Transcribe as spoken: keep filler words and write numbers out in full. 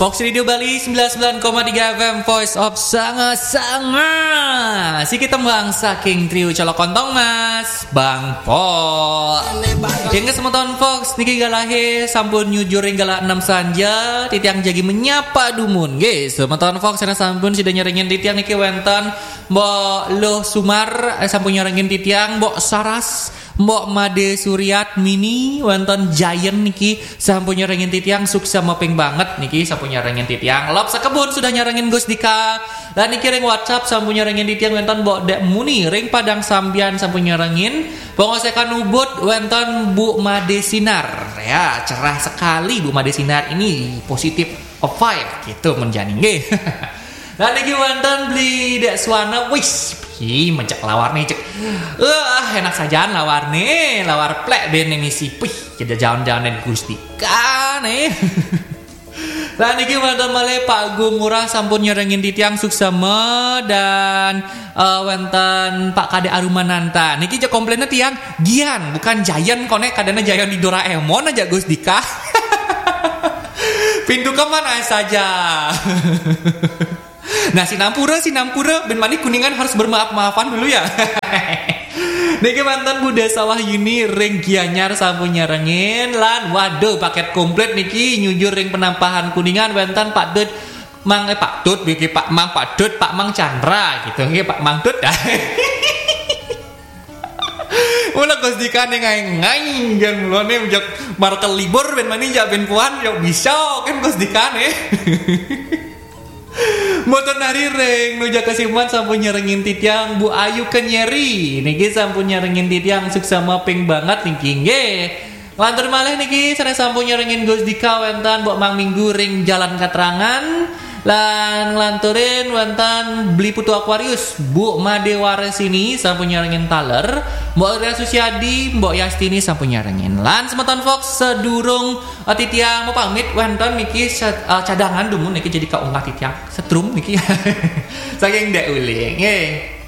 Fox Radio Bali sembilan sembilan koma tiga F M, Voice of Sanga-Sanga. Siki tembang saking trio Colok Kontong Mas, Bang Pol. Inggih semeton Fox, niki galahe sampun nyujur ring galah enam sanja, titiang jagi menyapa dumun. Nggih, semeton Fox sareng sampun sida nyarengin titiang niki wenten Mbok Luh Sumar, eh, sampun nyarengin titiang, Mbok Saras, Mbok Made Suryat Mini, wenten Giant niki sampun nyarengin titiang, suksma ping banget niki sampun nyarengin titiang. Lop Sekebun sudah nyarengin Gus Dika. Lan niki ring WhatsApp sampun nyarengin titiang wenten Mbok Dek Muni, ring Padang Sambian sampun nyarengin. Pengosekan Ubud wenten Bu Made Sinar. Ya, cerah sekali Bu Made Sinar ini, positif vibe gitu menjani nggih. Lan niki wenten Beli Dek Suwana, wis, ih, mencek lawar nih, cek. Wah, enak sajaan lawar nih, lawar plek ben ini sih. Wih, kita jalan-jalan dan Gus Dika nih. Lan niki wenten malih Pak Gung Ngurah sampun nyarengin titiang, suksma, dan eh, wenten Pak Kade Arumananta. Niki je komplainnya tiang, Gian, bukan Giant, kone kadana Giant di Doraemon aja Gus Dika. Pintu kemana saja? Nah, sinampura, sinampura, ben mani Kuningan harus bermaaf-maafan dulu ya. Niki wenten Bu Desa Wahyuni ring Gianyar sampun nyarengin, lan waduh, paket komplit niki nyujur ring Penampahan Kuningan, wenten Pak Dut, Mang, eh, Pak Dut, niki Pak Mang, Pak Dut, Pak Mang Chandra gitu nggih, Pak Mang Dut. Mula Gus Dika ning ngai-ngai, jan mula ne njak markel libur ben mani njak ben puan, yo bisa kan Gus Dika ne. Mboten nari ring Nuja Kasiman sampun nyarengin titiang, Bu Ayu Kenyeri niki sampun nyarengin titiang, suksma ping banget niki nggih. Lantur malih niki sareng sampun nyarengin Gus Dika wenten Mbok Mang Minggu ring Jalan Katrangan. Lan nglanturin wenten Beli Putu Aquarius, Bu Made Warsini sampun nyarengin taler, Mbok Ria Susiadi, Mbok Yastini sampun nyarengin. Lan semeton Fox, sedurung eh, titiang mau pamit wenten niki se- eh, cadangan dumun niki jadi kaunggah titiang setrum niki. Saking Dek Uling. Nggih.